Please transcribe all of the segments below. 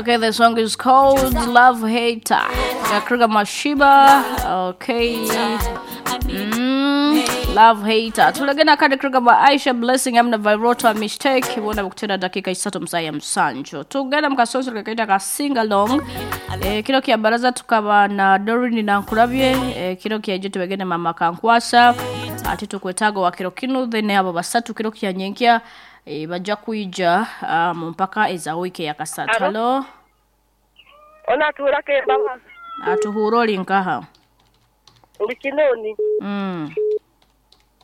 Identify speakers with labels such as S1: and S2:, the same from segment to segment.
S1: Okay, the song is called Love Hater. Kakruga Mashiba. Okay. Love Hater. Tulagena kade kruga ba Aisha Blessing amna Virota Mistake bona bukutera dakika 3 msaya msanjo. Tugenda mukasonso kakaita ka sing along. Kiro kya baraza tukaba na Dorin na Nkurabye, kiro kya jetu begende mama Kankwasa. Ate tukwetaga wa kiro kinu then abo basatu kiro kya nyenkya. Bajja kuija mu mpaka eza wiiki ya kasatu. Halo.
S2: Ona tuhurake baba.
S1: Atuhura oli nkaha.
S2: Ndi kinoni.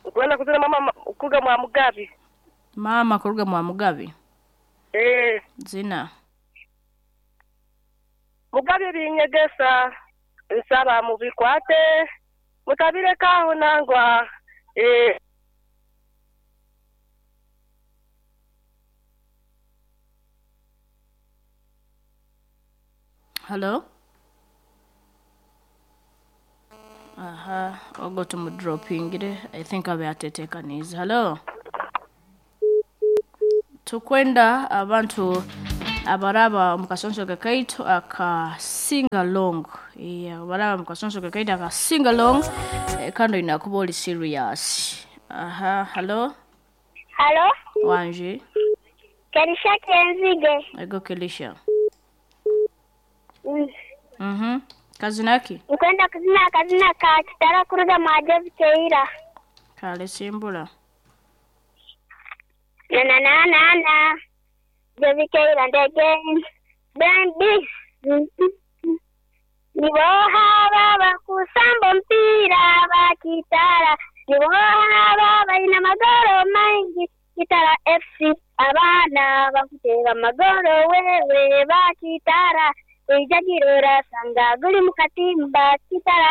S2: Nkwenda kuzina mama kuruga mwa Mugabi.
S1: Mama kuruga mwa Mugabi. Zina.
S2: Mugabi binyegesa nsaba mubikwate mutabirekaho nangwa.
S1: Hello? Aha, ogo tumudropingire. I think abe atetekaniza. Hello? Tukwenda abantu abaraba mukasonso kakaitu aka sing along. Yeah, abaraba mukasonso kakaitu aka sing along. Kando inakuba oli serious. Aha, hello?
S3: Hello?
S1: Wanje.
S3: Kelisha Kenzige.
S1: Ego Kelisha. Kazinaki?
S3: Nkwenda kuzina kazina ka kitara kuruga mwa Keira.
S1: Kale simbula.
S3: Na na na na na. Jovi Keira ndege. Bambi. Niboha baba kusamba mpira ba kitara. Niboha baba ina magoro mengi. Kitara FC abana bakutera magoro wewe ba kitara. Ijagirora sanga guli mukatimba kitara.